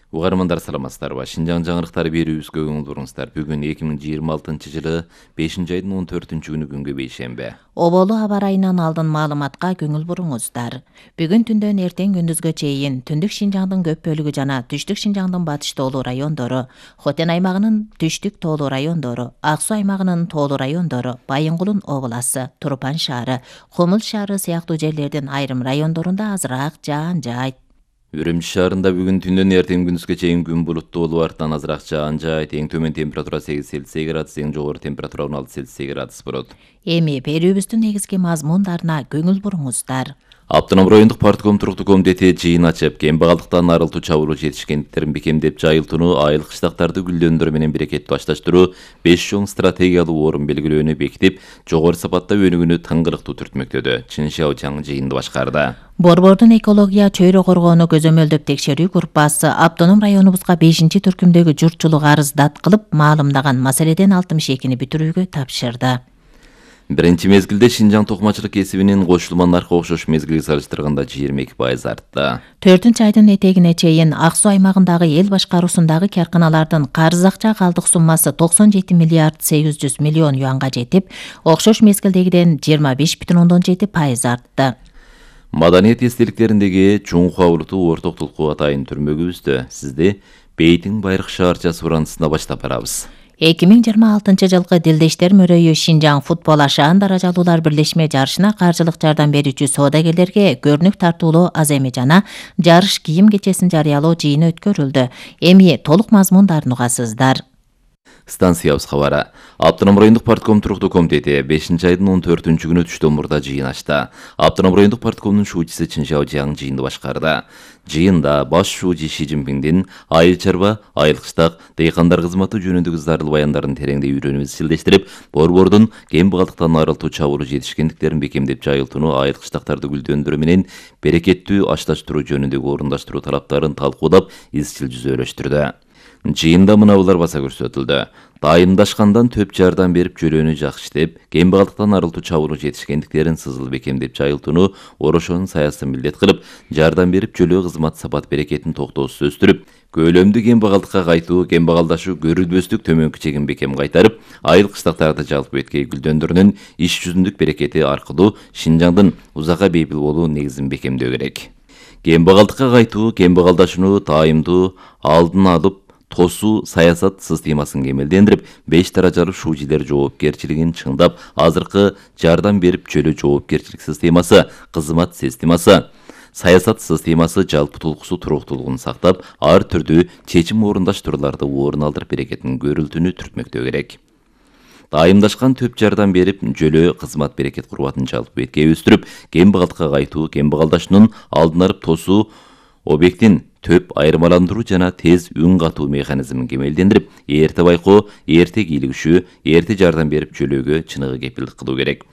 Угармандар саламатсыздарбы? Шинжаң жаңырыктары берүүбүзгө көңүл буруңуздар. Бүгүн 2026-жылы 5-айдын 14-күнү күнгө бейшемби. Оболу аба ырайынан алдын маалыматка көңүл буруңуздар. Бүгүн түндөн эртең күндүзгө чейин түндүк Шинжаңдын көп бөлүгү жана түштүк Шинжаңдын батыш тоолуу райондору, Хотен аймагынын түштүк тоолуу райондору, Ак Суу аймагынын тоолуу райондору, Байынгулун обласы, Турпан шаары, Кумул шаары сыяктуу жерлердин айрым райондорунда азыраак жаан жаайт. Үрүмчү шаарында бүгүн түндөн эртең күндүзгө чейин күн булуттуу болуп, артынан азыраак жаан жаайт. Эң төмөн температура 8 Цельсий градус, эң жогору температура 16 Цельсий градус болот. Эми берүүбүздүн негизги мазмундарына көңүл буруңуздар. Автоном райондук партком туруктуу комитети жыйын ачып, кембагалдыктан арылтуу чабуулуу жетишкендиктерин бекемдеп жайылтууну, айыл кыштактарды гүлдөндүрүү менен берекеттүү ашташтыруу, 5 чоң стратегиялуу орун белгилөөнү бекитип, жогору сапатта өнүгүүнү тыңгырыктуу түртмөктөдү. Чин Шаочаң жыйынды башкарды. Борбордун экология чөйрө коргоону көзөмөлдөп текшерүү группасы автоном районубузга 5-түркүмдөгү журтчулук арыздат кылып маалымдаган маселеден 62-ни бүтүрүүгө тапшырды. Биринчи мезгилде Шинжаң токмачылык кесибинин кошулма наркы окшош мезгилге салыштырганда 22% артты. 4-айдын этегине чейин Ак Суу аймагындагы эл башкаруусундагы карканалардын карыз акча калдык суммасы 97 миллиард 800 миллион юанга жетип, окшош мезгилдегиден 25,7% артты. Маданият эстеликтериндеги чуңку абуртуу орток тулкуу атайын түрмөгүбүздө сизди Бейтин Байрак шаарчасы урандысына баштап барабыз. 2026-жылкы Дилдештер мөрөйү Шинжаң футбол ашаан даражалуулар бирлешме жарышына каржылык жардам берүүчү соодагерлерге көрүнүк тартуулоо аз эми жана жарыш кийим кечесин жарыялоо жыйыны өткөрүлдү. Эми толук мазмундарын угасыздар. Станциябыз кабары. Автоном райондук партком туруктуу комитети 5-айдын 14-күнү түштөн мурда жыйын ачты. Автоном райондук парткомдун шуучусу Чин Шаочаң жыйынды башкарды. Жыйында баш шуучу Ши Цзиньпиңдин айыл чарба, айыл кыштак, дейкандар кызматы жөнүндөгү зарыл баяндарын тереңдей үйрөнүп изчилдештирип, борбордун кембагалдыктан арылтуу чабуулуу жетишкендиктерин бекемдеп жайылтууну, айыл кыштактарды гүлдөндүрүү менен берекеттүү ашташтыруу жөнүндөгү орундаштыруу талаптарын талкуулап, изчил жүзөлөштүрдү. Жыйында мынабулар баса көрсөтүлдү. Дайымдашкандан төп жардам берип жөлөөнү жакшы иштеп, кембагалдыктан арылтуу чабуулуу жетишкендиктерин сызыл бекемдеп жайылтууну орошонун саясын милдет кылып, жардам берип жөлөө кызмат сапат берекетин токтоосуз өстүрүп, көлөмдүү кембагалдыкка кайтуу, кембагалдашуу көрүлбөстүк төмөнкү чегин бекем кайтарып, айыл кыштактарды жалпы эткей гүлдөндүрүүнүн иш жүзүндүк берекети аркылуу Шинжаңдын узакка бейпил болуу негизин бекемдөө керек. Кембагалдыкка кайтуу, кембагалдашууну тааймдуу алдын алып, тосуу саясат системасын кемелдендирип, 5 даражалуу шуучилер жоопкерчилигин чыңдап, азыркы жардам берип жөлөө жоопкерчилик системасы, кызмат системасы, саясат системасы жалпы тулкусу туруктуулугун сактап, ар түрдүү чечим орундаштырууларды орун алдырып берекетин көрүлтүүнү түртмөктөө керек. Дайымдашкан төп жардам берип, жөлөө кызмат берекет курбатын жалпы эткей өстүрүп, кембагалдыкка кайтуу, кембагалдашуунун алдын алып тосуу объектин төп айырмаландыруу жана тез үн катуу механизмин кемелдендирип, эрте байкоо, эрте кийлигишүү, эрте жардам берип жөлөөгө чыныгы кепилдик кылуу керек.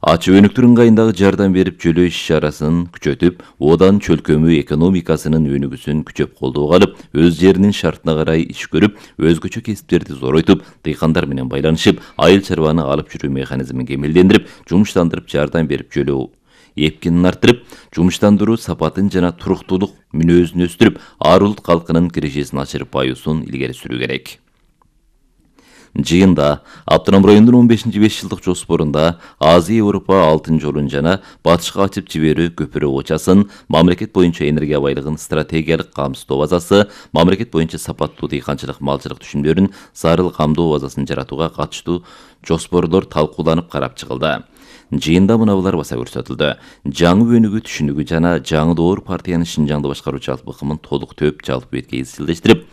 Ачуу өнүктүр ыңгайындагы жардам берип жөлөө иш-чарасын күчөтүп, одан чөлкөмүү экономикасынын өнүгүүсүн күчөп колдоого алып, өз жеринин шартына карай иш көрүп, өзгөчө кесиптерди зоройтуп, дыйкандар менен байланышып, айыл чарбаны алып жүрүү механизмин кемелдендирип, жумуштандырып жардам берип жөлөө эпкинин арттырып, жумуштандыруу сапатын жана туруктуулук мүнөзүн өстүрүп, ар улут калкынын кирежесин ачырып баюусун илгери сүрүү керек. Жыйында автоном райондун 15-5 жылдык жоспорунда Азия Европа алтын жолун жана батышка ачып жиберүү көпүрө очасын, мамлекет боюнча энергия байлыгын стратегиялык камсыздоо базасы, мамлекет боюнча сапаттуу дыйканчылык малчылык түшүмдөрүн зарыл камдоо базасын жаратууга катыштуу жоспорлор талкууланып карап чыгылды. Жыйында мынабулар баса көрсөтүлдү. Жаңы өнүгүү түшүнүгү жана жаңы доор партиянын Шинжаңды башкаруу жалпы ыкымын толук төп жалпы эткей изчилдештирип,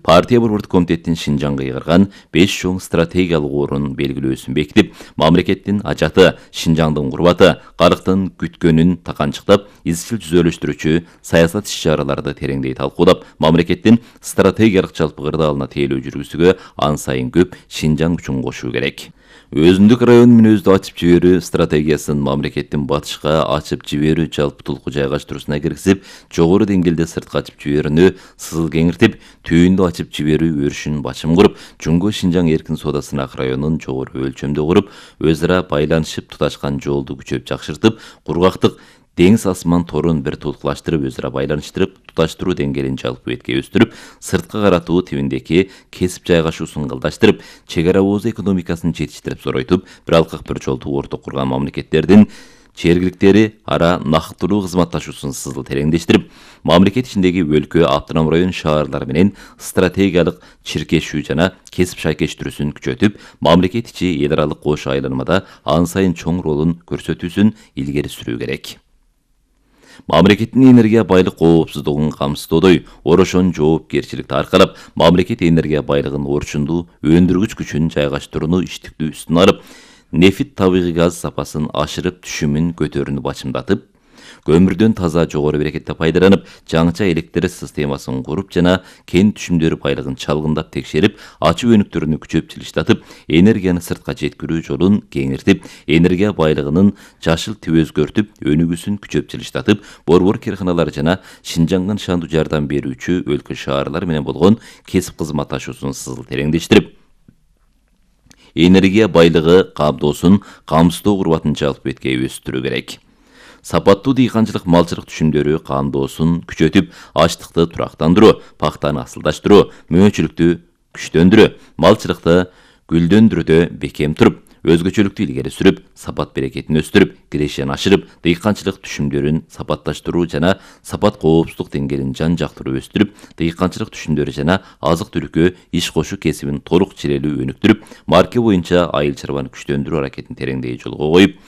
партия борбордук комитеттин Шинжаңга ыйгарган 5 чоң стратегиялык орун белгилөөсүн бекитип, мамлекеттин ажаты, Шинжаңдын курбаты, калктын күткөнүн таканчыктап, изчил жүзөлөштүрүүчү саясат иш-чараларды тереңдей талкуулап, мамлекеттин стратегиялык жалпы кырдаалына тейлөө жүргүзүүгө ан сайын көп Шинжаң күчүн кошуу керек. Өзүндүк район мүнөздү ачып жиберүү стратегиясын мамлекеттин батышка ачып жиберүү жалпы тулку жайгаштыруусуна киргизип, жогору деңгээлде сыртка ачып жиберүүнү сызыл кеңиртип, түйүндү ачып жиберүү өрүшүн бачым куруп, Жуңго Шинжаң эркин соодасын ак районун жогору өлчөмдө куруп, өз ара байланышып туташкан жолду күчөп жакшыртып, кургактык деңиз асман торун бир тулукташтырып, өзара байланыштырып, туташтыруу деңгээлин жалпы бетке өстүрүп, сырткы каратуу тибиндеги кесип жайгашуусун ылдаштырып, чек ара ооз экономикасын жетиштирип зоройтуп, бир алкак бир жолду орток курган мамлекеттердин чергиликтери ара нактылуу кызматташуусун сызыл тереңдештирип, мамлекет ичиндеги өлкө, автоном район шаарлар менен стратегиялык чиркешүү жана кесип шайкештирүүсүн күчөтүп, мамлекет ичи эл аралык кош айланмада ан сайын чоң ролун көрсөтүүсүн илгери сүрүү керек. Мамлекеттин энергия байлык коопсуздугун камсыздоодой орошон жоопкерчиликти аркалап, мамлекет энергия байлыгын орчундуу өндүргүч күчүн жайгаштырууну иштиктүү үстүнө алып, нефит табигый газ сапасын ашырып түшүмүн көтөрүүнү бачымдатып, көмүрдөн таза жогору берекетте пайдаланып, жаңыча электр системасын куруп жана кен түшүмдөр байлыгын чалгындап текшерип, ачуу өнүктөрүнү күчөп жылыштатып, энергияны сыртка жеткирүү жолун кеңиртип, энергия байлыгынын жашыл тип өзгөртүп, өнүгүүсүн күчөп жылыштатып, борбор карканалар жана Шинжанга нышандуу жардам берүүчү өлкө шаарлар менен болгон кесип кызматташуусун сызыл тереңдештирип, энергия байлыгы каапдоосун камсыздоо курбатын жалпы бетке өстүрүү керек. Сапаттуу дыйканчылык малчылык түшүмдөрү камдоосун күчөтүп, ачлыкты турактандыруу, пактаны асылдаштыруу, мөөчүлүктү күчтөндүрүү, малчылыкты гүлдөндүрүүдө бекем туруп, өзгөчөлүктү илгери сүрүп, сапат берекетин өстүрүп, кирешен ашырып, дыйканчылык түшүмдөрүн сапатташтыруу жана сапат коопсуздук деңгээлин жан-жактыруу өстүрүп, дыйканчылык түшүмдөрү жана азык түлүккө иш кошуу кесибин толук чирелүү өнүктүрүп, марке боюнча айыл чарбаны күчтөндүрүү аракетин тереңдей жолго коюп,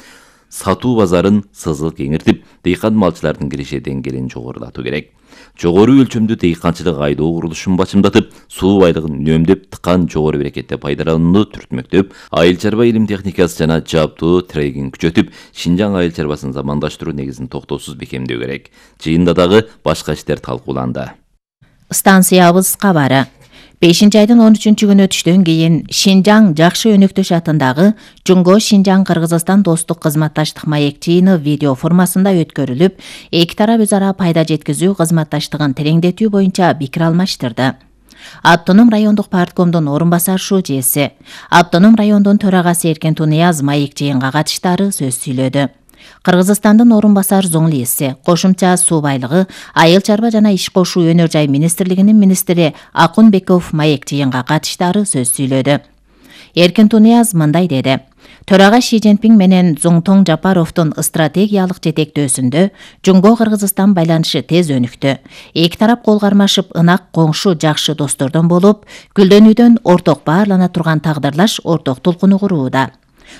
сатуу базарын сызыл кеңиртип, дыйкан малчылардын киреше деңгээлин жогорулатуу керек. Жогору өлчөмдүү дыйканчылык айдоо курулушун бачымдатып, суу байлыгын үнөмдөп, тыкан жогору берекетте пайдаланууну түртмөктөп, айыл чарба илим техникасы жана жабдуу трегин күчөтүп, Шинжаң айыл чарбасын замандаштыруу негизин токтоосуз бекемдөө керек. Жыйында дагы башка иштер талкууланды. Станциябыз кабары. 5-айдын 13-күнү түштөн кийин Шинжаң Жакшы Өнөктөш атындагы Жунго Шинжаң Кыргызстан достук кызматташтык маек жыйыны видео формасында өткөрүлүп, эки тарап өз ара пайда жеткизүү кызматташтыгын тереңдетүү боюнча пикир алмаштырды. Автоном райондук парткомдун орун басар шужеси, Автоном райондун төрагасы Эркен Тунияз маек жыйынга катыштары сөз сүйлөдү. Кыргызстандын орун басар зоңлиси, кошумча суу байлыгы, айыл чарба жана иш кошуу өнөр жай министрлигинин министри Акунбеков маек жыйынга катыштары сөз сүйлөдү. Эркен Тунияз мындай деди: Төрага Ши Цзиньпин менен Зуңтоң Жапаровдун стратегиялык жетектөөсүндө Жунго Кыргызстан байланышы тез өнүктү. Эки тарап кол кармашып, ынак коңшу жакшы достордон болуп, гүлдөнүүдөн орток баарлана турган тагдырлаш орток толкуну курууда.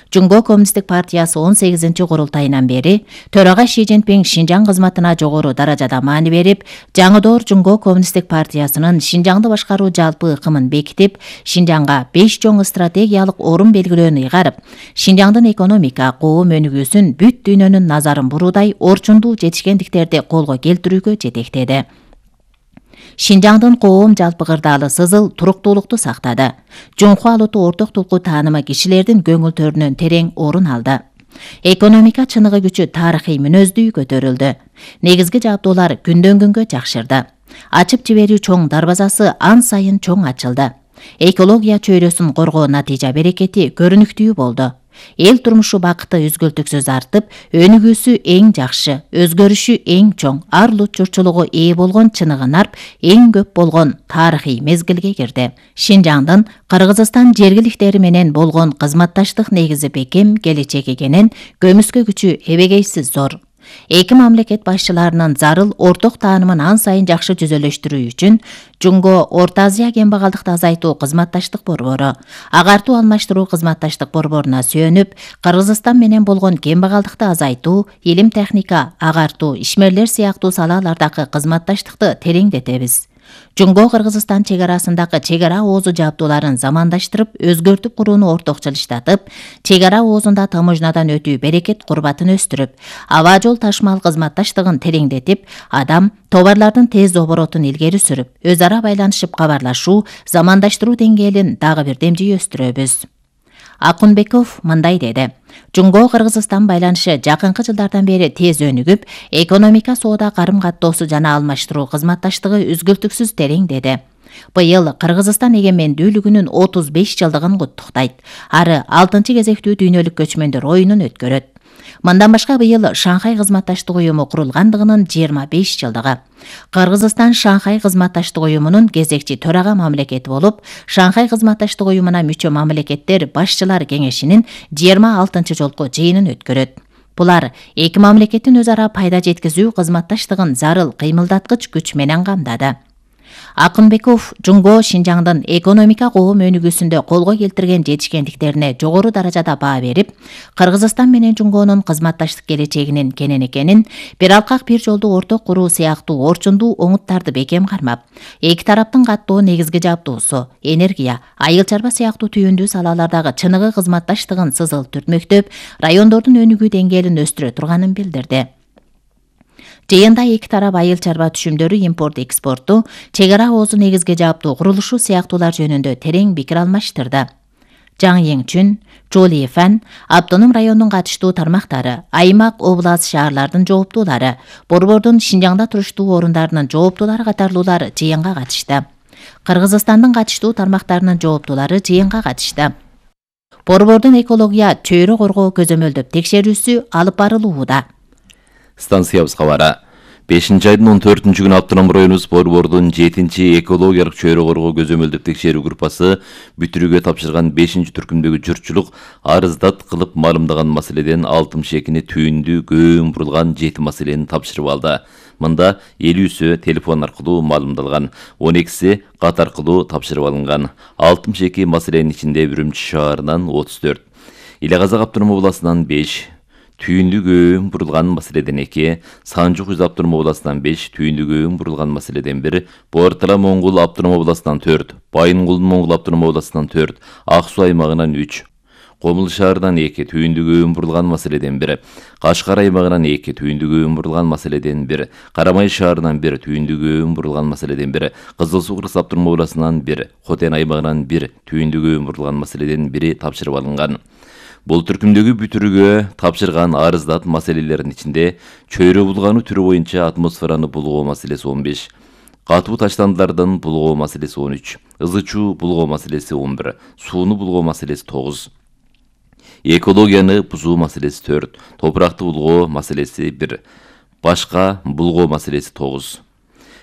Жунго Коммунисттик партиясы 18-ci курултайынан бери төрага Ши Цзиньпин Шинжаң кызматына жогору даражада маани берип, жаңыдоор Жунго Коммунисттик партиясынын Шинжаңды башкаруу жалпы ыкымын бекитип, Шинжаңга 5 чоң стратегиялык орун белгилөөнү ыйгарып, Шинжаңдын экономика, коом өнүгүүсүн бүт дүйнөнүн назарын буруудай орчундуу жетишкендиктерди колго келтирүүгө жетектеди. Шинжаңдын коом жалпы кырдаалы сызыл туруктуулукту сактады. Жунхуа алуту орток тулку таанымы кишилердин көңүлдөрүнөн терең орун алды. Экономика чыныгы күчү тарыхый мүнөздүү көтөрүлдү. Негизги жабдуулар күндөн күнгө жакшырды. Ачып жиберүү чоң дарбазасы ан сайын чоң ачылды. Экология чөйрөсүн коргоо натыйжа берекети көрүнүктүү болду. Эл турмушу бакыты үзгүлтүксүз артып, өнүгүүсү эң жакшы, өзгөрүшү эң чоң, арлуу чурчулугу ээ болгон чыныгы нарп эң көп болгон тарыхый мезгилге кирди. Шинжаңдын Кыргызстан жергиликтери менен болгон кызматташтык негизи бекем, келечеги кенен, көмүскө күчү эбегейсиз зор. Эки мамлекет башчыларынын зарыл орток таанымын ан сайын жакшы түзөлөштүрүү үчүн Жунго Орто Азия кембагалдыкты азайтуу кызматташтык борбору, агартуу алмаштыруу кызматташтык борборуна сүйөнүп, Кыргызстан менен болгон кембагалдыкты азайтуу, илим техника, агартуу, ишмерлер сыяктуу салалардагы кызматташтыкты тереңдетебиз. Жунго Кыргызстан чек арасындагы чек ара оозу жабдууларын замандаштырып, өзгөртүп курууну орток жылыштатып, чек ара оозунда таможнядан өтүү берекет курбатын өстүрүп, аба жол ташмал кызматташтыгын тереңдетип, адам, товарлардын тез оборотун илгери сүрүп, өз ара байланышып кабарлашуу, замандаштыруу деңгээлин дагы бир демжий өстүрөбүз. Акунбеков мындай деди: Жунго Кыргызстан байланышы жакынкы жылдардан бери тез өнүгүп, экономика, соода, карым-каттоосу жана алмаштыруу кызматташтыгы үзгүлтүксүз тереңдеди. Быйыл Кыргызстан эгемендүүлүгүнүн 35 жылдыгын куттуктайт. Ары 6-кезектүү дүйнөлүк көчмөндөр оюнун өткөрөт. Мындан башка быйыл Шанхай кызматташтык уюму курулгандыгынын 25 жылдыгы. Кыргызстан Шанхай кызматташтык уюмунун кезекчи төрага мамлекети болуп, Шанхай кызматташтык уюмуна мүчө мамлекеттер башчылар кеңешинин 26 жолку жыйынын өткөрөт. Булар эки мамлекеттин өз ара пайда жеткизүү кызматташтыгын зарыл кыймылдаткыч күч менен камдады. Акынбеков Жунго Шинжаңдын экономика коом өнүгүүсүндө колго келтирген жетишкендиктерине жогору даражада баа берип, Кыргызстан менен Жунгонун кызматташтык келечегинин кенен экенин, бир алкак бир жолду орток куруу сыяктуу орчундуу оңуттарды бекем кармап, эки тараптын каттоо негизги жабдуусу, энергия, айыл чарба сыяктуу түйүндүү салалардагы чыныгы кызматташтыгын сызыл түртмөктөп, райондордун өнүгүү деңгээлин өстүрө турганын билдирди. Жыйында эки тарап айыл чарба түшүмдөрү импорт-экспорту, чек ара оозу негизги жаптуу курулушу сыяктуулар жөнүндө терең пикир алмаштырды. Жаң Еңчүн, Чоли Фан, Автоном райондун катыштуу тармактары, аймак, область, шаарлардын жооптуулары, Борбордун Шинжаңда туруштуу орундарынын жооптуулары катарлуулар жыйынга катышты. Кыргызстандын катыштуу тармактарынын жооптуулары жыйынга катышты. Борбордун экология чөйрө коргоо көзөмөлдөп текшерүүсү алып барылууда. Станциябыз кабары. 5-айдын 14-күнү Автоном районубуз Борбордун 7-чи экологиялык чөйрө коргоо көзөмөлдөп текшерүү группасы бүтүрүүгө тапшырган 5-түркүмдөгү журтчулук арыздат кылып маалымдаган маселеден 62-ни түйүндүү көөн бурулган 7 маселени тапшырып алды. Мында 50-сү телефон аркылуу маалымдалган, 12-си кат аркылуу тапшырып алынган. 62 маселенин ичинде Үрүмчү шаарынан 34, Иле Казак автоном областынан 5, түйүндүү көөн бурулган маселеден 2, Санжук Үз автоном областынан 5, түйүндүү көөн бурулган маселеден 1, Буартала Моңгул автоном областынан 4, Байынгулдун Моңгул автоном областынан 4, Ак Суу аймагынан 3, Комул шаарынан 2, түйүндүү көөн бурулган маселеден 1, Кашкар аймагынан 2, түйүндүү көөн бурулган маселеден 1, Карамай шаарынан 1, түйүндүү көөн бурулган маселеден 1, Кызыл Суу Кыргыз автоном областынан 1, Хотен аймагынан 1, түйүндүү көөн бурулган маселеден 1 тапшырып алынган. Бул түркүмдөгү бүтүрүүгө тапшырган арыздат маселелердин ичинде чөйрө булгануу түрү боюнча атмосфераны булгоо маселеси 15, катуу таштандылардын булгоо маселеси 13, ызы-чуу булгоо маселеси 11, сууну булгоо маселеси 9, экологияны бузуу маселеси 4, топуракты булгоо маселеси 1, башка булгоо маселеси 9.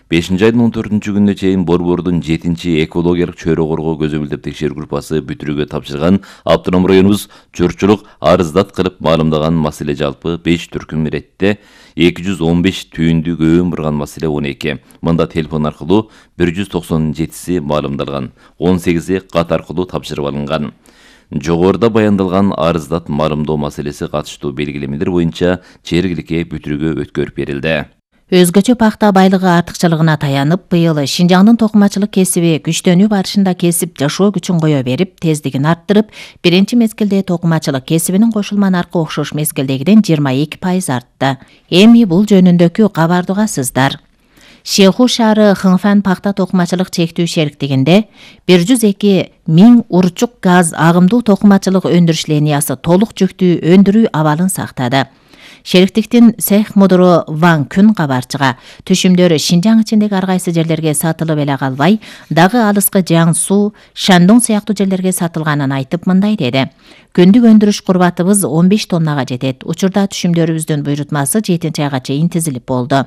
5-айдын 14-күнүнө чейин Борбордун 7-чи экологиялык чөйрө коргоо көзөмөлдөп текшерүү группасы бүтүрүүгө тапшырган Автоном районубуз журтчулук арыздат кылып маалымдаган маселе жалпы 5 түркүм иретте, 215 түйүндүү көөн бурган маселе 12. Мында телефон аркылуу 197си маалымдалган, 18и кат аркылуу тапшырып алынган. Жогоруда баяндалган арыздат маалымдоо маселеси катыштуу белгилемелер боюнча жергиликке бүтүрүүгө өткөрүп берилди. Өзгөчө пахта байлыгы артыкчылыгына таянып, быйыл Шинжаңдын токумачылык кесиби күчтөнүү барышында кесип жашоо күчүн кое берип, тездигин арттырып, биринчи мезгилде токумачылык кесибинин кошулма наркы окшош мезгилдегиден 22% артты. Эми бул жөнүндөгү кабарды угасыздар. Шеху шаары Хыңфан пахта токумачылык чектүү шериктигинде 102.000 урчук газ агымдуу токумачылык өндүрүш линиясы толук жүктүү өндүрүү абалын сактады. Шериктиктин цех мудуру Ван Күн кабарчыга түшүмдөр Шинжаң ичиндеги ар кайсы жерлерге сатылып эле калбай, дагы алыскы Жаңсу, Шандон сыяктуу жерлерге сатылганын айтып мындай деди. Күндүк өндүрүш курбатыбыз 15 тоннага жетет. Учурда түшүмдөрүбүздүн буйрутмасы 7-айга чейин тизилип болду.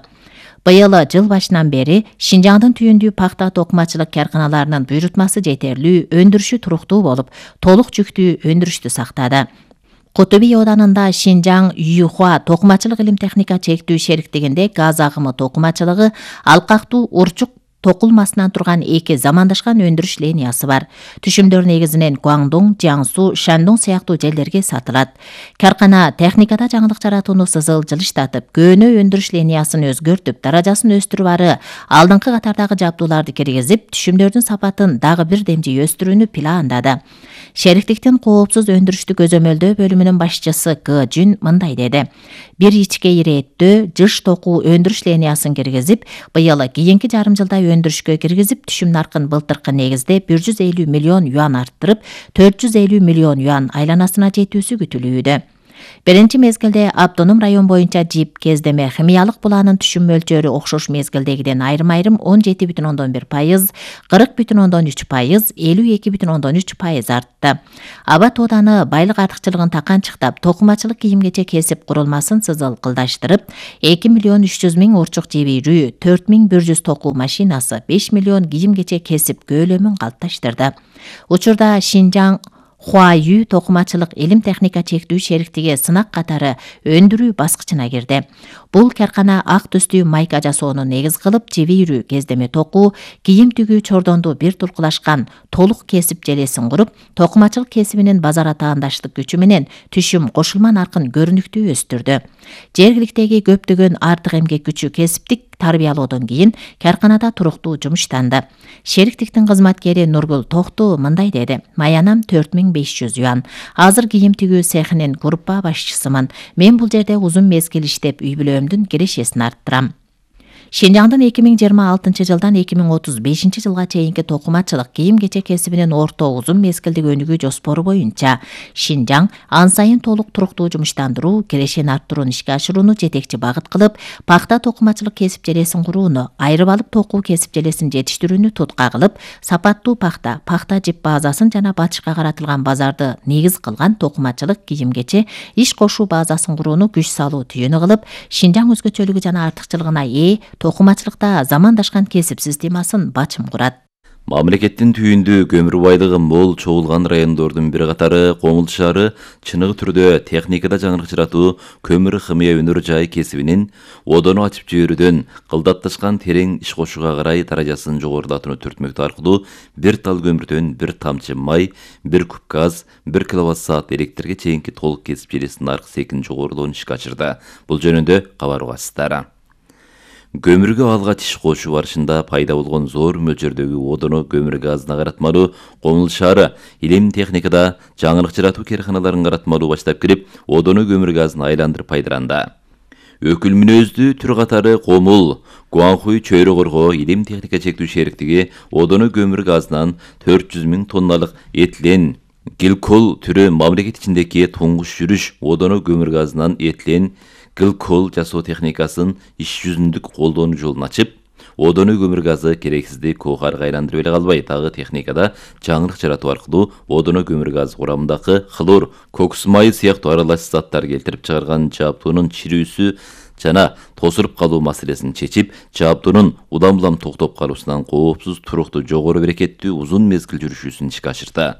Быйыл жыл башынан бери Шинжаңдын түйүндүү пахта токумачылык карканаларынын буйрутмасы жетерлүү, өндүрүшү туруктуу болуп, толук жүктүү өндүрүштү сактады. Кутуби оданында Шинжаң Юхуа токумачылык илим техника чектүү шериктигинде газ агымы токумачылыгы алкактуу урчук токулмасынан турган эки замандашкан өндүрүш линиясы бар. Түшүмдөр негизинен Гуаңдун, Жаңсу, Шандон сыяктуу жерлерге сатылат. Каркана техникада жаңылык жаратууну сызыл жылыштатып, көөнө өндүрүш линиясын өзгөртүп, даражасын өстүрүп ары, алдыңкы катардагы жабдууларды киргизип, түшүмдөрдүн сапатын дагы бир демжи өстүрүүнү пландады. Шериктиктин коопсуз өндүрүштү көзөмөлдөө бөлүмүнүн башчысы Г. Жүн мындай деди. Бир ичке ирээттөө жыш токуу өндүрүш линиясын киргизип, быйыл кийинки жарым жылда өндүрүшкө киргизип, түшүм наркын былтыркы негизде 150 миллион юан арттырып, 450 миллион юан айланасына жетүүсү күтүлүүдө. Биринчи мезгилде автоном район боюнча ЖИП кездеме химиялык буланын түшүм мөлчөрү окшош мезгилдегиден айрым-айрым 17,1%, 40,3%, 52,3% артты. Аба тооданы байлык артыкчылыгын таканчыктап, токумачылык кийим-кечек кесип курулмасын сызылкылдаштырып, 2,3 миң урчук жебирүү, 4,100 токуу машинасы, 5 миллион кийим-кечек кесип көөлөмүн калыпташтырды. Учурда Шинжаң Хуаю токумачылык илим техника чектүү шериктиги сынак катары өндүрүү баскычына кирди. Бул каркана ак түстүү майка жасоону негиз кылып, жебирүү, кездеме токуу, кийим тигүү чордонду бир туркулашкан толук кесип желесин куруп, токумачылык кесибинин базар атаандаштык күчү менен түшүм кошулма наркын көрүнүктүү өстүрдү. Жергиликтеги көптөгөн артык эмгек күчү кесиптик тарбиялоодон кийин карканада туруктуу жумуштанды. Шериктиктин кызматкери Нургул Токту мындай деди: "Маянам 4500 юан. Азыр кийим тигүү цехинин группа башчысымын. Мен бул жерде узун мезгил иштеп, үй бүлөмдүн кирешесин арттырам." Шинжаңдын 2026 жылдан 2035 жылга чейинки токумачылык кийим-кечек кесибинин орто узун мезгилдик өнүгүү жоспору боюнча Шинжаң ан сайын толук туруктуу жумуштандыруу, кирешени арттырууну ишке ашырууну жетекчи багыт кылып, пахта токумачылык кесип желесин курууну, айрып алып токуу кесип желесин жетиштирүүнү тутка кылып, сапаттуу пахта жип базасын жана батышка каратылган базарды негиз кылган токумачылык кийим-кече иш кошуу базасын курууну күч салуу түйүнү кылып, Шинжаң өзгөчөлүгү жана артыкчылыгына ээ токумачылыкта замандашкан кесип системасын бачым курат. Мамлекеттин түйүндү көмүр байлыгы мол чогулган райондордун бир катары Комул шаары чыныгы түрдө техникада жаңырыкчыратуу көмүр химия өнөр жай кесибинин одону ачып жиберүүдөн кылдатташкан терең иш кошууга карай даражасын жогорулатууну түртмөктүү аркылуу бир тал көмүрдөн бир тамчы май, бир куб газ, 1 киловатт-саат электрге чейинки толук кесип желесинин аркы секин жогорулоонун ишке ашырды. Бул жөнүндө кабар угасыздар. Көмүргө алгач иш кошуу барышында пайда болгон зор мөлчөрдөгү одону көмүр газына каратмалуу Комул шаары илим техникада жаңырыкчыратуу керканаларын каратмалуу баштап кирип, одону көмүр газына айландырып пайдаланды. Өкүл мүнөздүү түр катары Комул, Гуанхуй чөйрө коргоо илим техника чектүү шериктиги одону көмүр газынан 400 000 тонналык этилен гликол түрү мамлекет ичиндеги туңгуш жүрүш одону көмүр газынан этилен гликол жасоо техникасын иш жүзүндүк колдонуу жолун ачып, одону көмүр газы керексиздик коохарга айландырып эле калбай, дагы техникада жаңырык жаратуу аркылуу одону көмүр газы курамындагы хлор, кокус майы сыяктуу аралаш заттар келтирип чыгарган жаптуунун чирүүсү жана тосуруп калуу маселесин чечип, жаптуунун улам-улам токтоп калуусунан коопсуз, туруктуу, жогору берекеттүү узун мезгил жүрүшүүсүн ишке ашырды.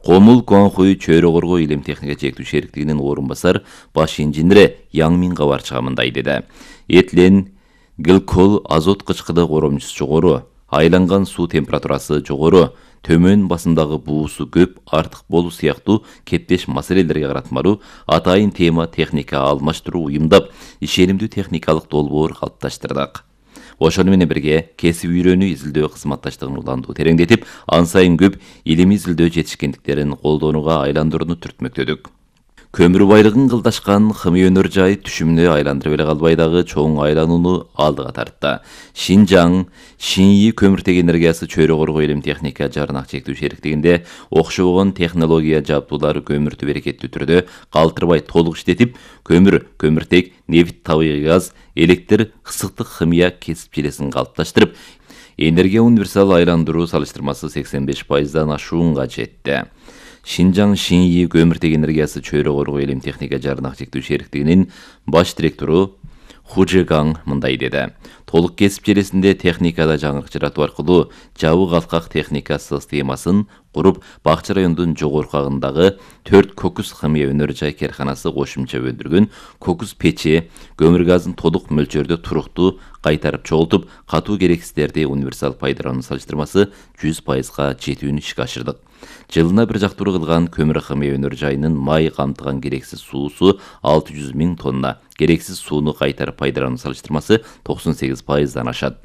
Комул Гуанхуй чөйрө коргоо илим техника чектүү шериктигинин орун басар баш инженери Яң Мин кабар чыгымындай деди. Этилен гликол азот кычкыды коромчусу жогору, айланган суу температурасы жогору, төмөн басымдагы буусу көп, артык болуу сыяктуу кептеш маселелерге каратмалуу атайын тема техника алмаштыруу уюмдап, ишенимдүү техникалык долбоор калыпташтырдык. Ошону менен бирге кесип үйрөнүү изилдөө кызматташтыгын улантуу тереңдетип, ан сайын көп илим изилдөө жетишкендиктерин колдонууга айландырууну түртмөктөдүк. Көмүр байлыгын кылдашкан химия өнөр жай түшүмүнө айландырып эле калбай, дагы чоң айланууну алдыга тартты. Шинжаң Шинйи көмүртек энергиясы чөйрө коргоо илим техника жарнак чектүү шериктигинде окшобогон технология жабдуулары көмүрдү берекеттүү түрдө калтырбай толук иштетип, көмүртек, нефть, табигый газ, электр, ысыктык химия кесип желесин калыпташтырып, энергия универсал айландыруу салыштырмасы 85%дан ашуунга жетти. Шинжаң Шинйи көмүртек энергиясы чөйрө коргоо илим техника жарнак чектүү шериктигинин баш директору Хужегаң мындай деди. Толук кесип желесинде техникада жаңырык жаратуу аркылуу жабык алкак техника системасын куруп, Бакчы районунун жогорку агындагы 4 кокус химия өнөр жай керканасы кошумча өндүргөн кокус печи көмүр газын толук мөлчөрдө туруктуу кайтарып чогултуп, катуу керексиздерди универсал пайдалануу салыштырмасы 100%га жетүүнү ишке ашырдык. Жылына бир жактыруу кылган көмүр химия өнөр жайынын май камтыган керексиз суусу 600 000 тонна, керексиз сууну кайтарып пайдалануу салыштырмасы 98%дан ашат.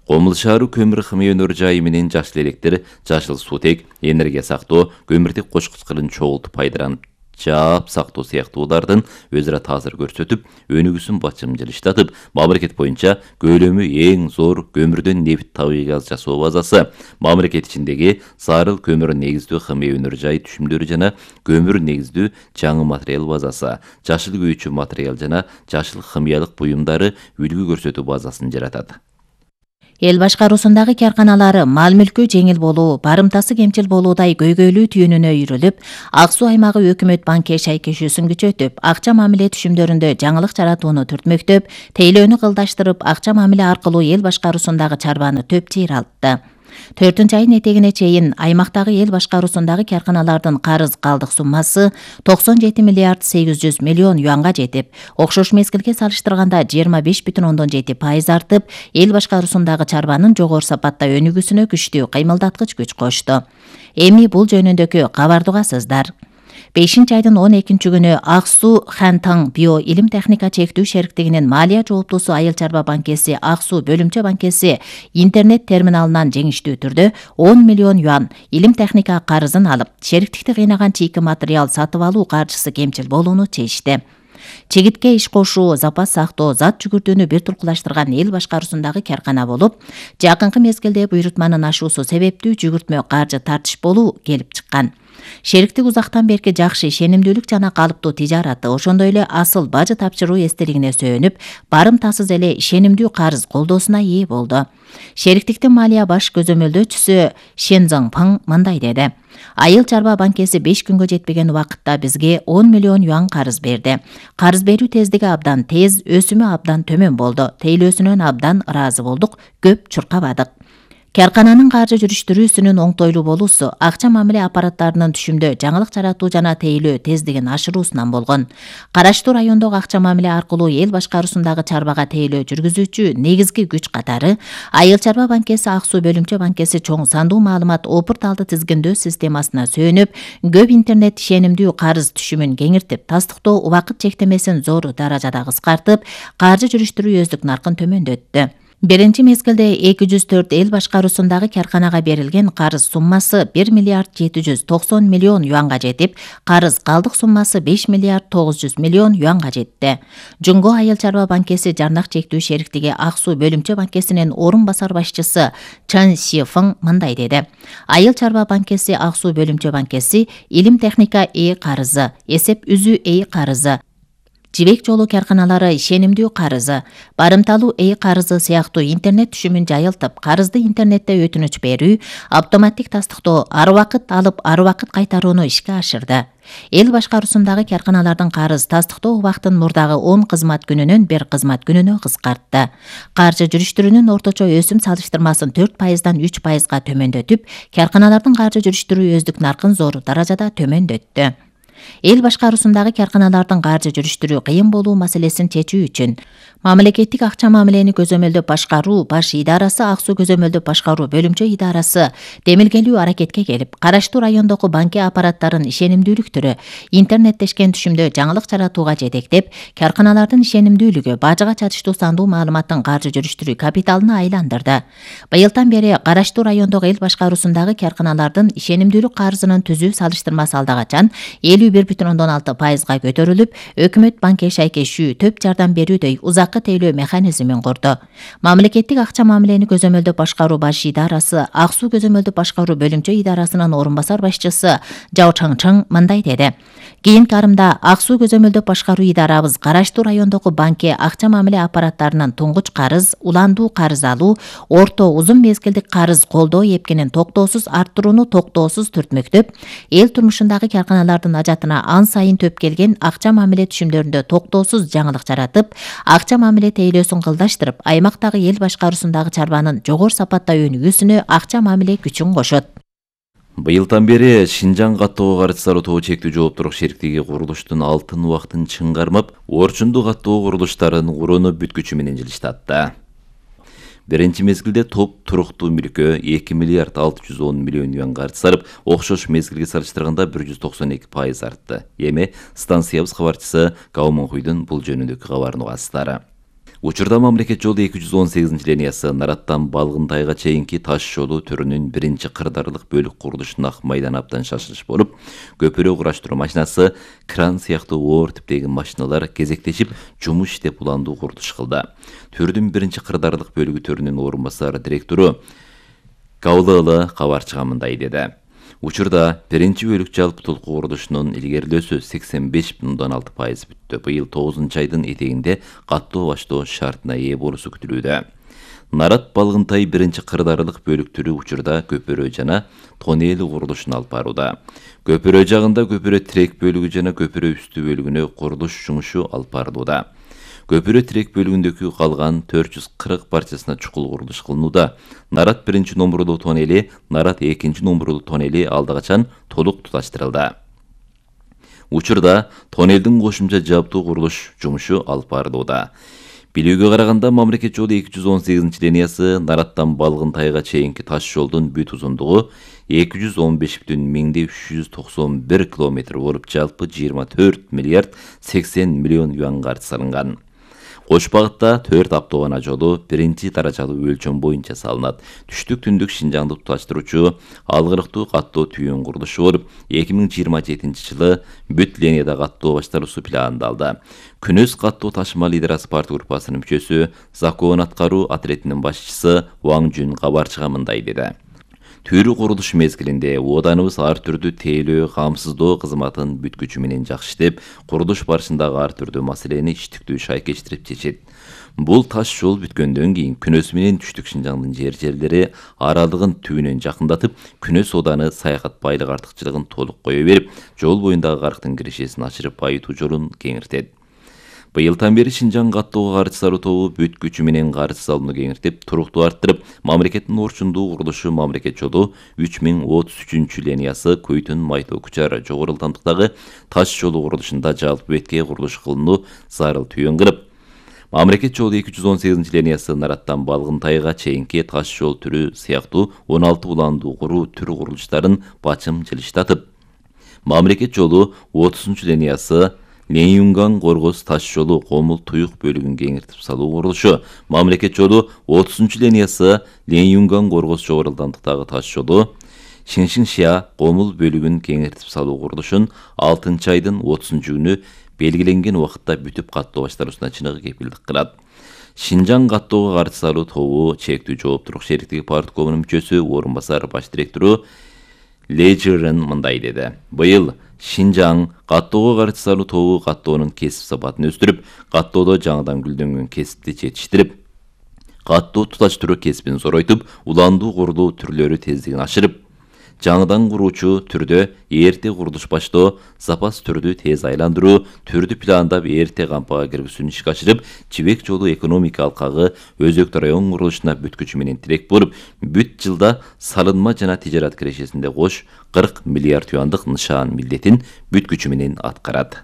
Комул шаары көмүр химия өнөр жайы менен жашыл электр, жашыл суутек, энергия сактоо, көмүртек кошкучкырын чогултуп пайдаланып жаап сактоо сыяктуулардын өзара таасир көрсөтүп, өнүгүүсүн бачымжылыштатып, мамлекет боюнча көлөмү эң зор көмүрдөн нефть табигый газ жасоо базасы, мамлекет ичиндеги зарыл көмүр негиздүү химия өнөр жай түшүмдөрү жана көмүр негиздүү жаңы материал базасы, жашыл күйүүчү материал жана жашыл химиялык буюмдары үлгү көрсөтүү базасын жаратат. Эл башкаруусундагы карканалары мал мүлкү жеңил болуу, барымтасы кемчил болуудай көйгөйлүү түйүнүнө үйрүлүп, Ак Суу аймагы өкмөт банк шайкешүүсүн күчөтүп, акча мамиле түшүмдөрүндө жаңылык жаратууну түртмөктөп, тейлөөнү кылдаштырып, акча мамиле аркылуу эл башкаруусундагы чарбаны төп жыйралтты. 4 айын этегине чейин аймактагы эл башкаруусундагы карканалардын карыз калдык суммасы 97 миллиард 800 миллион юанга жетип, окшош мезгилге салыштырганда 25,7% артып, эл башкаруусундагы чарбанын жогору сапатта өнүгүүсүнө күчтүү кыймылдаткыч күч кошту. Эми бул жөнүндөгү кабарды угасыздар. 5 айдын 12 күнү Ак Суу Хантаң био илим техника чектүү шериктигинин малия жооптуусу Айыл чарба банкеси Ак Суу бөлүмчө банкеси интернет терминалынан жеңиштүү түрдө 10 миллион юан илим техника карызын алып, шериктикти кыйнаган чийки материал сатып алуу каржысы кемчил болууну чечти. Чегитке иш кошуу, запас сактоо, зат жүгүртүүнү бир туркулаштырган эл башкаруусундагы каркана болуп, жакынкы мезгилде буйрутманын ашуусу себептүү жүгүртмө каржы тартыш болуу келип чыккан. Шериктик узактан берки жакшы ишенимдүүлүк жана калыптуу тижараты, ошондой эле асыл бажы тапшыруу эстелигине сөөнүп, барымтасыз эле ишенимдүү карыз колдоосуна ээ болду. Шериктиктин малия баш көзөмөлдөөчүсү Шен Заңпаң мындай деди: Айыл чарба банкеси 5 күнгө жетпеген убакытта бизге 10 миллион юан карыз берди. Карыз берүү тездиги абдан тез, өсүмү абдан төмөн болду. Тейлөөсүнөн абдан ыраазы болдук, көп чуркабадык. Каркананын каржы жүрүштүрүүсүнүн оңтойлуу болуусу акча мамиле аппараттарынын түшүмдө жаңылык жаратуу жана тейлөө тездигин ашыруусунан болгон. Караштуу райондогу акча мамиле аркылуу эл башкаруусундагы чарбага тейлөө жүргүзүүчү негизги күч катары Айыл чарба банкеси Ак Суу бөлүмчө банкеси чоң сандуу маалымат опурталды тизгиндөө системасына сөөнүп, көп интернет ишенимдүү карыз түшүмүн кеңиртип, тастыктоо убакыт чектемесин зор даражада кыскартып, каржы жүрүштүрүү өздүк наркын төмөндөттү. Биринчи мезгилде 204 эл башкаруусундагы карканага берилген карыз суммасы 1 миллиард 790 миллион юанга жетип, карыз калдык суммасы 5 миллиард 900 миллион юанга жетти. Жунго Айыл чарба банкеси жарнак чектүү шериктиги Ак Суу бөлүмчө банкесинин орун басар башчысы Чан Сифың мындай деди: Айыл чарба банкеси Ак Суу бөлүмчө банкеси илим техника карызы, эсеп үзүү карызы, жибек жолу карканалары ишенимдүү карызы, барымталуу карызы сыяктуу интернет түшүмүн жайылтып, карызды интернетте өтүнүч берүү, автоматтик тастыктоо, ар убакыт алып, ар убакыт кайтарууну ишке ашырды. Эл башкаруусундагы карканалардын карыз тастыктоо убактын мурдагы 10 кызмат күнүнөн 1 кызмат күнүнө кыскартты. Каржы жүрүштүрүүнүн орточо өсүм салыштырмасын 4%дан 3%га төмөндөтүп, карканалардын каржы жүрүштүрүү өздүк наркын зор даражада төмөндөттү. Эл башкаруусундагы карканалардын каржы жүрүштүрүү кыйын болуу маселесин чечүү үчүн мамлекеттик акча мамилени көзөмөлдөп башкаруу баш идарасы Ак Суу көзөмөлдөп башкаруу бөлүмчө идарасы демилгелүү аракетке келип, караштуу райондогу банке аппараттарын ишенимдүүлүктөрү интернеттешкен түшүмдө жаңылык жаратууга жетектеп, карканалардын ишенимдүүлүгү бажыга чатыштуу сандуу маалыматтын каржы жүрүштүрүү капиталына айландырды. Быйылдан бери караштуу райондогу эл башкаруусундагы карканалардын ишенимдүүлүк карызынын түзүү салыштырмасы алдагачан 51,6%га көтөрүлүп, өкмөт банке шайкешүү төп жардам берүүдөй узаккы тейлөө механизмин курду. Мамлекеттик акча мамилени көзөмөлдөп башкаруу баш идарасы Ак Суу көзөмөлдөп башкаруу бөлүмчө идарасынын орун басар башчысы Жао Чаңчың мындай деди: Кийинки арымда Ак Суу көзөмөлдөп башкаруу идарабыз караштуу райондогу банке акча мамиле аппараттарынын туңгуч карыз, уландуу карыз алуу, орто узун мезгилдик карыз колдоо эпкенин токтоосуз арттырууну токтоосуз түртмөктөп, эл турмушундагы карканалардын ажатына ан сайын төп келген акча мамиле түшүмдөрүндө токтоосуз жаңылык жаратып, акча мамиле тейлөөсүн кылдаштырып, аймактагы эл башкаруусундагы чарбанын жогору сапатта өнүгүүсүнө акча мамиле күчүн кошот. Быйылдан бери Шинжаң каттоого каршы Сарытоо чектүү жооптуулук шериктиги курулуштун алтын убактын чыңгармап, орчундуу каттоо курулуштарын курууну бүткүчү менен жылыштатты. Биринчи мезгилде топ туруктуу мүлккө 2 миллиард 610 миллион юан каржы сарып, окшош мезгилге салыштырганда 192% артты. Эми станциябыз кабарчысы Кауманхуйдун бул жөнүндөгү кабарын угасыздар. Учурда мамлекет жолу 218-линиясы Нараттан Балгынтайга чейинки таш жолу түрүнүн биринчи кырдаарлык бөлүк курулушуна майдан абдан шашылыш болуп, көпүрө кураштыруу машинасы, кран сыяктуу оор типтеги машиналар кезектешип жумуш иштеп уландуу курулуш кылды. Түрдүн биринчи кырдаарлык бөлүгү төрүнүн орун басар директору Каулалы кабарчыга мындай деди. Учурда биринчи бөлүк жалпы толку курулушунун илгерилөөсү 85,6% бүттү. Быйыл 9-айдын этегинде каттоо баштоо шартына ээ болуусу күтүлүүдө. Нарат Балгынтай биринчи кырдаарлык бөлүктөрү учурда көпүрө жана тоннели курулушун алып барууда. Көпүрө жагында көпүрө тирек бөлүгү жана көпүрө үстү бөлүгүнө курулуш жумушу алып барылууда. Көпүрө тирек бөлүгүндөгү калган 440 парчасына чукул курулуш кылынууда. Нарат 1 номурлуу тоннели, Нарат 2 номурлуу тоннели алда качан толук туташтырылды. Учурда тоннелдин кошумча жабдуу курулуш жумушу алып барылууда. Билүүгө караганда мамлекет жолу 218-линиясы Нараттан Балгынтайга чейинки таш жолдун бүт узундугу 215,391 километр болуп, жалпы 24 миллиард 80 миллион юан каржы салынган. Кош багытта 4 автоунаа жолу биринчи даражалуу өлчөм боюнча салынат. Түштүк түндүк Шинжаңды туташтыруучу алгырыктуу каттоо түйүн курулушу болуп, 2027 жылы бүт линияда каттоо башталуусу пландалды. Күнөс каттоо ташыма лидер спорт группасынын мүчөсү, закон аткаруу отрядынын башчысы Ваң Жүн кабарчыга мындай деди. Түрү курулуш мезгилинде ооданыбыз ар түрдүү тейлөө, камсыздоо кызматын бүткүчү менен жакшы иштеп, курулуш барышындагы ар түрдүү маселени иштиктүү шайкештирип чечет. Бул таш жол бүткөндөн кийин Күнөс менен Түштүк Шинжаңдын жерлери аралыгын түбүнөн жакындатып, Күнөс ооданы саякат байлык артыкчылыгын толук кое берип, жол боюндагы карктын киришесин ачырып байытуу жолун кеңиртет. Быйылдан бери Шинжаң каттоого каржы салуу тобу бүт күчү менен каржы салууну кеңиртип, туруктуу арттырып, мамлекеттин орчундуу курулушу мамлекет жолу 3033-линиясы Көйтүн Майтоо Кучар жогору ылдамдыктагы таш жолу курулушунда жалпы бетке курулуш кылынуу зарыл түйүн кылып, мамлекет жолу 218-линиясы Нараттан Балгынтайга чейинки таш жол түрү сыяктуу 16 уландуу куруу түрү курулуштарын бачым жылыштатып, мамлекет жолу 30-линиясы Ленюнган Коргоз таш жолу Комул Туюк бөлүгүн кеңиртип салуу курулушу, мамлекет жолу 30-линиясы Ленюнган Коргоз жогору ылдамдыктагы таш жолу Шиншиңшия Комул бөлүгүн кеңиртип салуу курулушун 6-айдын 30-күнү белгиленген убакытта бүтүп каттоо башталуусуна чыныгы кепилдик кылат. Шинжаң каттоого каржы салуу тобу чектүү жооптуулук шериктиги парткомунун мүчөсү, орун басар баш директору Лежерен мындай деди. Быйыл Шинжаң каттоого каржы салуу тобу каттоонун кесип сапатын өстүрүп, каттоодо жаңыдан гүлдөнгөн кесипти жетиштирип, каттоо туташтыруу кесибин зоройтуп, уландуу курулуу түрлөрү тездигин ашырып, жаңыдан куруучу түрдө эрте курулуш баштоо, запас түрдү тез айландыруу, түрдү пландап эрте кампага киргизүүнү ишке ашырып, Жибек жолу экономика алкагы өзөктүү район курулушуна бүт күчү менен тирек болуп, бүт жылда салынма жана тижарат кирешесинде кош 40 миллиард юандык нышан милдетин бүт күчү менен аткарат.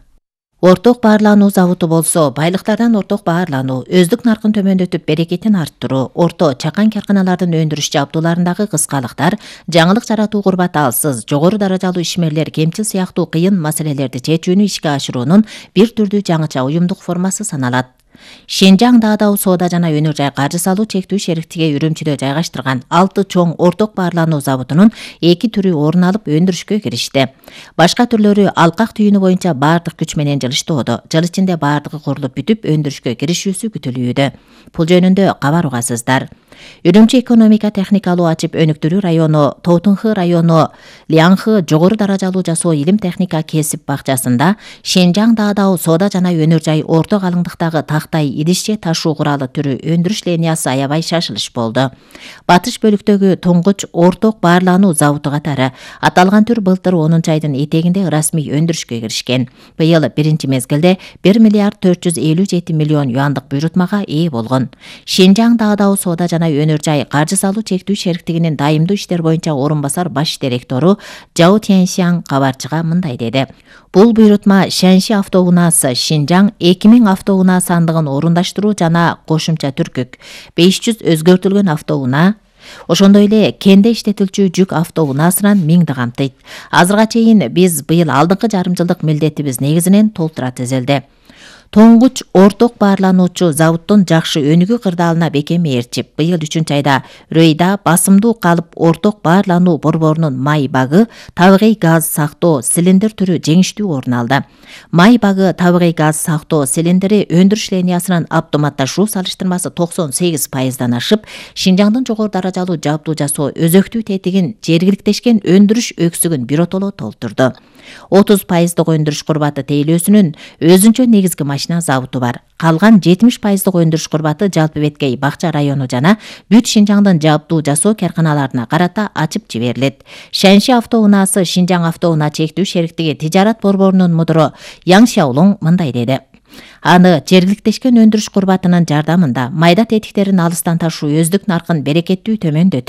Орток баарлануу заводу болсо, байлыктардан орток баарлануу, өздүк наркын төмөндөтүп берекетин арттыруу, орто чакан карканалардын өндүрүш жабдууларындагы кыскалыктар, жаңылык жаратуу курбаталсыз, жогору даражалуу ишмерлер кемчил сыяктуу кыйын маселелерди чечүүнү ишке ашыруунун бир түрдүү жаңыча уюмдук формасы саналат. Шинжаң Даадау соода жана өнөр жай каржы салуу чектүү шериктиги Үрүмчүдө жайгаштырган 6 чоң орток баарлануу заводунун 2 түрү орун алып өндүрүшкө киришти. Башка түрлөрү алкак түйүнү боюнча баардык күч менен жылыштоодо. Жыл ичинде баардыгы курулуп бүтүп өндүрүшкө киришүүсү күтүлүүдө. Бул жөнүндө кабар угасыздар. Үрүмчү экономика техникалуу ачып өнүктүрүү району, Тоутунхы району Лиаңхы жогору даражалуу жасоо илим техника кесип бакчасында Шинжаң Даадау соода жана өнөр жай орто калыңдыктагы тактай идишче ташуу куралы түрү өндүрүш линиясы аябай шашылыш болду. Батыш бөлүктөгү туңгуч орток баарлануу заводу катары аталган түр былтыр 10-айдын этегинде расмий өндүрүшкө киришкен. Быйыл биринчи мезгилде 1 миллиард 457 миллион юандык буйрутмага ээ болгон. Шинжаң Даадау соода жана өнөр жай каржы салуу чектүү шериктигинин дайымдуу иштер боюнча орун басар баш директору Жао Тяньсяң кабарчыга мындай деди. Бул буйрутма Шанши автоунаасы Шинжаң 2000 автоунаа сандыгын орундаштыруу жана кошумча түркүк 500 өзгөртүлгөн автоунаа, ошондой эле кенде иштетилчү жүк автоунаасынан 1000 камтыйт. Азырга чейин биз быйыл алдыңкы жарым жылдык милдетибиз негизинен толтура тизилди. Тоңгуч орток баарлануучу заводдун жакшы өнүгүү кырдаалына бекем ээрчип, быйыл 3 айда Рөйда басымдуу калып орток баарлануу борборунун май багы табигый газ сактоо цилиндр түрү жеңиштүү орун алды. Май багы табигый газ сактоо цилиндри өндүрүш линиясынын автоматташуу салыштырмасы 98%дан ашып, Шинжаңдын жогору даражалуу жабдуу жасоо өзөктүү тетигин жергиликтешкен өндүрүш өксүгүн биротоло толтурду. 30% өндүрүш курбаты тейлөөсүнүн өзүнчө негизги машина заводу бар. Калган 70% өндүрүш курбаты Жалпы Беткей Бакча району жана бүт Шинжаңдын жабдуу жасоо карканаларына карата ачып жиберилет. Шанши автоунаасы Шинжаң автоунаа чектүү шериктиги тижарат борборунун мудуру Яң Шаолоң мындай деди. Аны жергиликтешкен өндүрүш курбатынын жардамында майда тетиктерин алыстан ташуу өздүк наркын берекеттүү төмөндөтүп,